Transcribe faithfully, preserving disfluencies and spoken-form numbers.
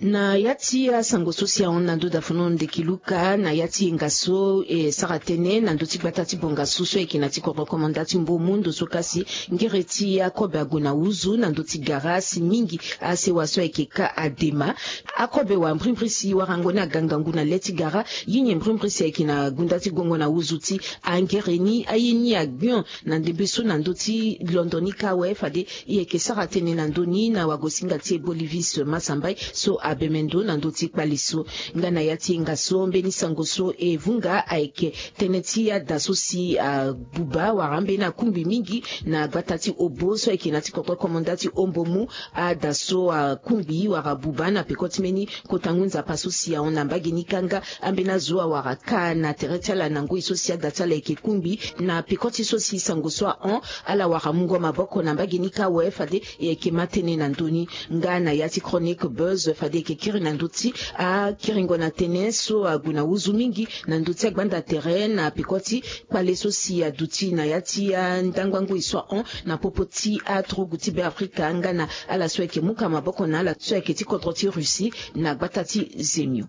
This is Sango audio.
Na ya ti asango so si ahon na ndö dafono ndeki luka na ya ti yenga so e sara tënë na ndö ti gbata ti bongasu so ayeke na ti kodro komanda ti mbomu ndo so kasi ngere ti akobe ague na uzu na ndö ti gara si mingi asewa so ayeke ka adema. Akobe wa mbrimbri si warango ni aga ngangu na le ti gara. Ye nyen mbrimbri si ayeke na gunda ti gongo na uzu ti angere ni aye ni agbion na ndembe so na ndö ti londo ni ka awe fade e yeke sara tënë na ndö ni na wagosinga ti e Bolivis Masambai so abemendo na ndö ti kpale so. Nga na ya ti yenga so mbeni sango so e vunga ayeke tënë ti ada so si abuba wala ambeni akungbi mingi na gbata ti obo so ayeke na ti kodro komanda ti ombomu. Ada so akungbi wala abuba na peko ti mbeni kota ngu nzapa so si ahon na mbage ni ka nga ambeni azo awara ka na tere ti ala na ngoi so si ada ti ala ayeke kungbi na peko ti so si sango so ahon. Ala wara mungo maboko na mbage ni ka awe fade e yeke ma tënë na ndö ni. Nga na ya ti chronique buzz fade e yeke kiri na ndö ti akiringo na tënë so ague na uzu mingi na ndö ti agbanda tere na peko ti kpale so si aduti na ya ti andangba ngoi so ahon na popo ti aturugu ti Beafrika nga na ala so ayeke muka maboko na ala so ayeke ti kodro ti Russie na gbata ti zemio.